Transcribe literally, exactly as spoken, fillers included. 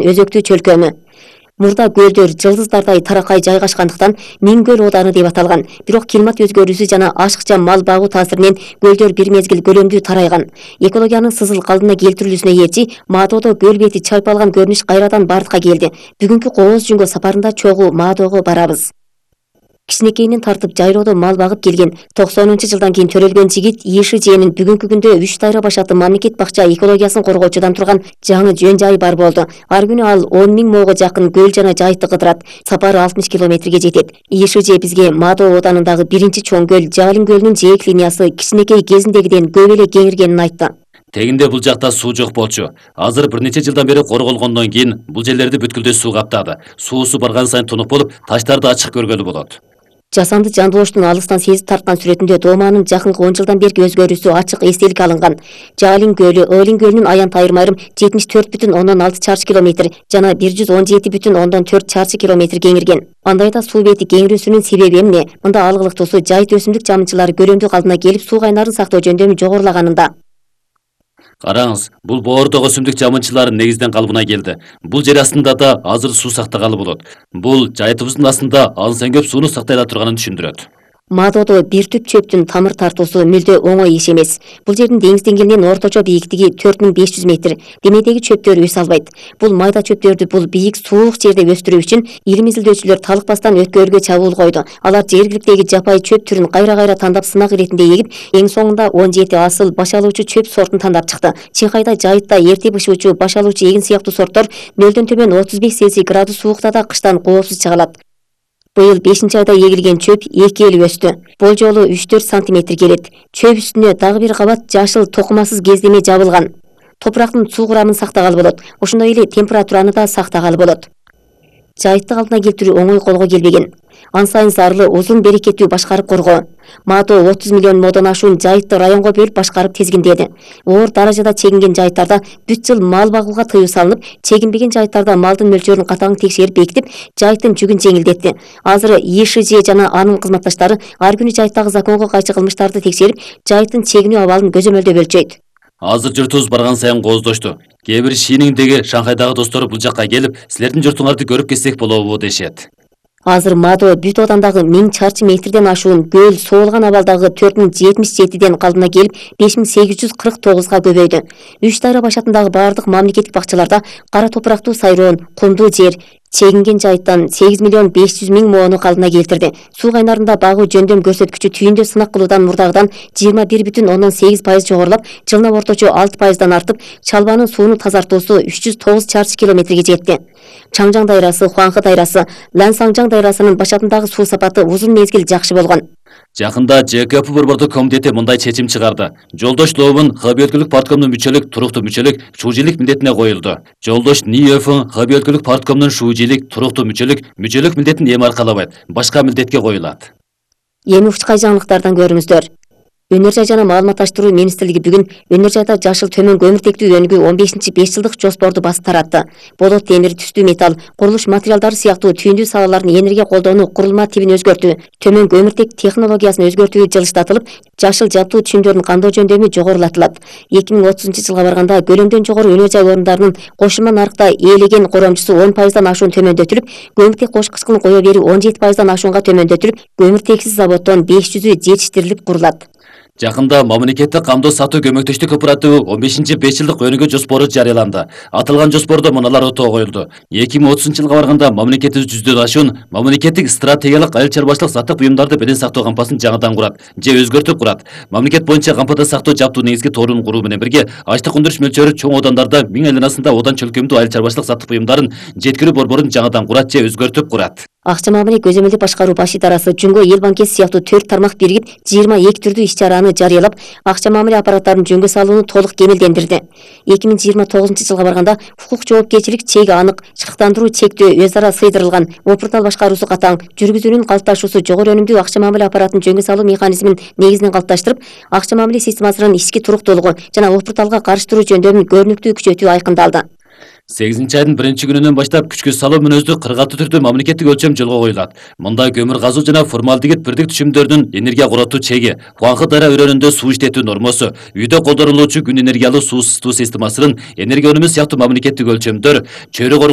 өзөктүү чөлкөмү. Мурда көлдөр жылдыздардай таракай жайгашкандыктан Миң көл ооданы деп аталган. Бирок климат өзгөрүүсү жана ашыкча мал багуу таасиринен көлдөр бир мезгил көлөмдүү тарайган. Экологиянын сызыл калдына келтирилүүсүнө ээрчи Маадоодо көл бети чайпалган көрүнүш кайрадан бардыкка келди. Бүгүнкү Кооз Жүнгө сапарында чогуу Маадоого барабыз. Кичинекейинен тартып жайлоодо мал багып келген токсонунчу жылдан кийин төрөлгөн жигит ИШЖнин бүгүнкү күндө үч дайра башаттуу мамлекет бакча экологиясын коргоочудан турган жаңы жөн жайы бар болду. Ар күнү ал он миң моого жакын көл жана жайытты кыдырат. Сапары алтымыш километрге жетет. ИШЖ бизге Маадоо ооданындагы биринчи чоң көл Жалин көлүнүн жээк линиясы кичинекей кезиндегиден көп эле кеңиргенин айтты. Тегинде бул жакта суу жок болчу. Азыр бир нече жылдан бери корголгондон кийин бул жерлерди бүткүлдөй суу каптады. Суусу барган сайын тунук болуп, таштарды ачык көргөлү болот. Жасанды жандылооштун алыстан сезип тарткан сүрөтүндө дооманын жакынкы он жылдан берки өзгөрүүсү ачык эстелик алынган. Жалин көлү Ылин көлүнүн аянт айырым-айрым жетимиш төрт бүтүн ондон алты чарчы километр жана бир жүз он жети бүтүн ондон төрт чарчы километр кеңирген. Андайда суу бети кеңирүүсүнүн себеби эмне? Мында алгылыктуусу жайыт өсүмдүк жамынчылары көлөмдүү калдына келип суу кайнарын сактоо жөндөмү жогорулаганында. Караңыз, бул боордок өсүмдүк жамынчылары негизден калыбына келди. Бул жер астында да азыр суу сактагалы болот. Бул жайытыбыздын астында алыс көп сууну сактай ала турганын түшүндүрөт. Маадоодо бир түп чөптүн тамыр тартуусу мүлдө оңой иш эмес. Бул жердин деңиз деңгээлинен орточо бийиктиги төрт миң беш жүз метр. Демедеги чөптөр өсө албайт. Бул майда чөптөрдү бул бийик суук жерде өстүрүү үчүн илим изилдөөчүлөр талыкпастан өткөргө чабуул койду. Алар жергиликтеги жапайы чөп түрүн кайра-кайра тандап сынак иретинде эгип, эң соңунда он жети асыл баш алуучу чөп сортун тандап чыкты. Чыңкайда, жайытта эрте бышуучу баш алуучу эгин сыяктуу сорттор нөлдөн төмөн отуз беш Цельсий градус суукта да кыштан коопсуз чыгалат. Быйыл бешинчи айда эгилген чөп эки эле өстү. Болжолу үч төрт сантиметр келет. Чөп үстүнө дагы бир кабат жашыл токумасыз кездеме жабылган. Топурактын суу курамын сактагалы болот. Ошондой эле температураны да сактагалы болот. Жайытты калдына келтирүү оңой колго келбеген. Ан сайын зарлы, узун, берекеттүү башкарып коргоо. Маадоо отуз миллион модон ашуун жайытты районго бөлүп башкарып тизгиндеди. Оор даражада чегинген жайыттарда бүт жыл мал багууга тыюу салынып, чегинбеген жайыттарда малдын мөлчөрүн катаң текшерип бекитип, жайыттын жүгүн жеңилдетти. Азыр ИШЖ жана анын кызматташтары ар күнү жайыттагы законго кайчы кылмыштарды текшерип, жайыттын чегинүү абалын көзөмөлдөп өлчөйт. Азыр журтубуз барган сайын кооздошту. Кээ бир Шиниңдеги Шанхайдагы достору бул жакка келип, силердин журтуңарды көрүп кетсек болобу дешет. Азыр Маадоо бүт оодандагы миң чарчы метрден ашуун көл соолган абалдагы төрт миң жетимиш жетиден калдына келип беш миң сегиз жүз кырк тогузга көбөйдү. Үч дайра башатындагы бардык мамлекеттик бакчаларда кара топурактуу сайроон, кумдуу жер, чегинген жайыттан сегиз миллион беш жүз миң моону калдына келтирди. Суу кайнарында багуу жөндөм көрсөткүчү түйүндө сынак кылуудан мурдагыдан жыйырма бир бүтүн ондон сегиз пайыз жогорулап, жылына орточо алты пайыздан артып, чалбанын сууну тазартуусу үч жүз тогуз чарчы километрге жетти. Чаңжаң дайрасы, Хуаңхы дайрасы, Лансаңжаң дайрасынын башатындагы суу сапаты узун мезгил жакшы болгон. Жакында ЖКП борбордук комитети мындай чечим чыгарды. Жолдош Лоовун хб өлкөлүк парткомдун мүчөлүк, туруктуу мүчөлүк, шуужилик милдетине коюлду. Жолдош Ниевин хб өлкөлүк парткомдун шуужилик, туруктуу мүчөлүк, мүчөлүк милдетин эми аркалабайт, башка милдетке коюлат. Эми учкай жаңылыктардан көрүңүздөр. Өнөр жай жана маалыматташтыруу министрлиги бүгүн өнөр жайда жашыл төмөн көмүртектүү өнүгүү он бешинчи беш жылдык жоспорду басып таратты. Болот, темир, түстүү металл, курулуш материалдары сыяктуу түйүндүү салалардын энергия колдонуу курулма тибин өзгөртүү, төмөн көмүртек технологиясын өзгөртүү жылыштатылып, жашыл жабдуу түшүмдөрдүн кандоо жөндөмү жогорулатылат. эки миң отузунчу жылга барганда көлөмдөн жогору өнөр жай орундарынын кошулма нарыкта ээлеген коромчусу он пайыздан ашуун төмөндөтүлүп, көмүртек кошкучкулун кое берүү он жети пайыздан ашуунга төмөндөтүлүп, көмүртексиз заводдон беш жүзү жетиштирилип курулат. Жакында мамлекеттик камдоо сатуу көмөктөштүк кооперативы он бешинчи беш жылдык өнүгүү жоспору жарыяланды. Аталган жоспордо мыналар отоо коюлду. эки миң отузунчу жылга барганда мамлекетибиз жүздөн ашуун мамлекеттик стратегиялык айыл чарбачылык сатык буюмдарды белең сактоо кампасын жаңыдан курат же өзгөртүп курат. Мамлекет боюнча кампада сактоо жаптуу негизги торун куруу менен бирге ачтык өндүрүш мөлчөрү чоң оодандарда миң айланасында одан чөлкөмдүү айыл чарбачылык сатык буюмдарын жеткирүү борборун жаңыдан курат же өзгөртүп курат. Акча мамиле көзөмөлдүк башкаруу баш идарасы Жөнгө эл банкеси сыяктуу төрт тармак биригип жыйырма эки түрдүү иш-чараны жарыялап, акча мамиле аппараттарын жөнгө салууну толук кемелдендирди. эки миң жыйырма тогузунчу жылга барганда укук жоопкерчилик чеги анык, чыктандыруу чектөө өз ара сыйдырылган, опуртал башкаруусу катаң, жүргүзүүнүн калыпташуусу жогору өнүмдүү акча мамиле аппаратын жөнгө салуу механизмин негизинен калыпташтырып, акча мамиле системасынын ички туруктуулугу жана опурталга карыштыруу жөндөмүн көрүнүктүү күчөтүү айкындалды. сегизинчи айдын биринчи күнүнөн баштап күчкө салуу мүнөздүү кырк алты түрдүү мамлекеттик өлчөм жолго коюлат. Мында көмүр газуу жана формалдегид бирдик түшүмдөрдүн энергия коротуу чеги, Хуаңхы дайра өрөөнүндө суу иштетүү нормосу, үйдө колдонулуучу күн энергиялуу суу ысытуу системасынын энергия өнүмү сыяктуу мамлекеттик өлчөмдөр, чөйрө